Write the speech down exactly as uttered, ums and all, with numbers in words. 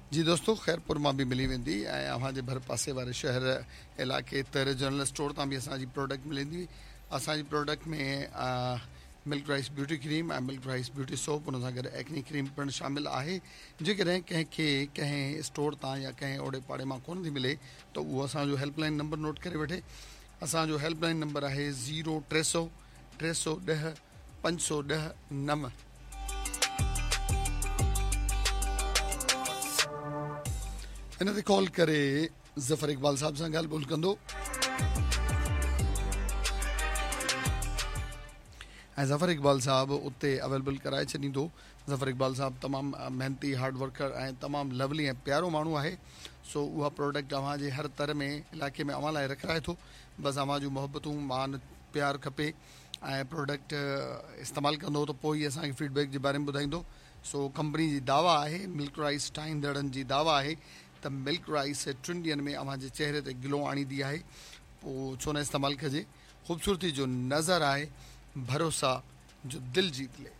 जी दोस्तों, ख़ैरपुर मां बि मिली वेंदी ऐं अव्हां जे भर पासे वारे शहर इलाइक़े तर जनरल स्टोर तां बि असांजी प्रोडक्ट मिलंदी। असांजी प्रोडक्ट में मिल्क राइस ब्यूटी क्रीम ऐं मिल्क राइस ब्यूटी सोप, उन सां गॾु एक्नी क्रीम पिणु शामिलु आहे। जेकॾहिं कंहिंखे कंहिं स्टोर तां या कंहिं ओड़े पाड़े मां कोन थी मिले त उहो असांजो हेल्पलाइन नंबर नोट करे वठे। असांजो हेल्पलाइन नंबर आहे ज़ीरो टे सौ टे सौ ॾह पंज सौ ॾह नव। इन ते कॉल करे ज़फ़र इक़बाल साहब सां ॻाल्हि ॿोल कंदो ऐं ज़फ़र इक़बाल साहब उते अवेलेबल कराए छॾींदो। ज़फ़र इक़बाल साहब तमामु महिनती, हार्ड वर्कर ऐं तमामु लवली ऐं प्यारो माण्हू आहे। सो उहा प्रोडक्ट अव्हांजे हर तर में इलाइक़े में अव्हां लाइ रखाए थो। बसि अव्हां जूं मोहबतूं, मान, प्यार खपे ऐं प्रोडक्ट इस्तेमालु कंदो त पोइ ई असांखे फीडबैक जे बारे में ॿुधाईंदो। सो कंपनी जी दावा आहे, मिल्क राइस ठाहींदड़नि जी दावा आहे त मिल्क राइस टिनि ॾींहंनि में अव्हांजे चेहरे ते ग्लो आणींदी आहे। पोइ छो न इस्तेमालु कजे। ख़ूबसूरती जो नज़र आहे, भरोसा जो दिल जीत ले।